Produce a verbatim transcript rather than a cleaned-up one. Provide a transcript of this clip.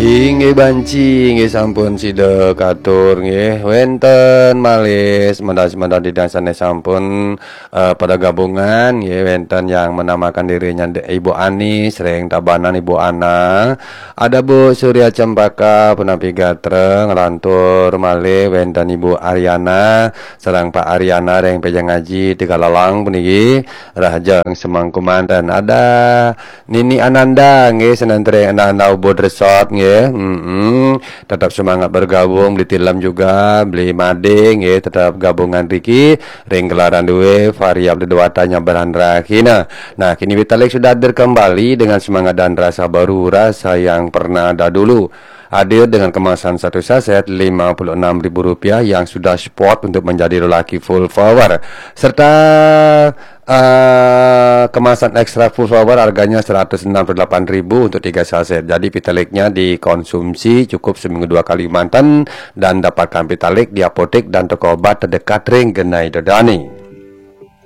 Inggih banci, inggih sampun sida katur nggih. Wénten malih semeton-semeton ida dané sampun eh, pada gabungan nggih, wénten yang menamakan dirinya De- Ibu Ani, sering Tabanan Ibu Ana. Ada Bu Surya Cempaka punapi gatra, nglantur malih wénten Ibu Ariana sareng Pak Ariana ring Pejang Aji Tegalalang puniki, rahajeng semeng kemanten. Ada Nini Ananda nggih, senentreng Ananda Ubud Resort nggih. Mm-mm. Tetap semangat bergabung, beli Tilem juga, beli Made nggih, tetap gabungan riki ring gelaran duwe variab dedewatanya Berandra Kina. Nah, kini Vitalik sudah hadir kembali dengan semangat dan rasa baru, rasa yang pernah ada dulu. Hadir dengan kemasan satu saset lima puluh enam ribu rupiah yang sudah spot untuk menjadi lelaki full power, serta eh, kemasan ekstra full power harganya seratus enam puluh delapan ribu untuk tiga saset. Jadi Vitaliknya dikonsumsi cukup seminggu dua kali manten dan dapatkan Vitalik di apotek dan toko obat terdekat ring genah ida dané.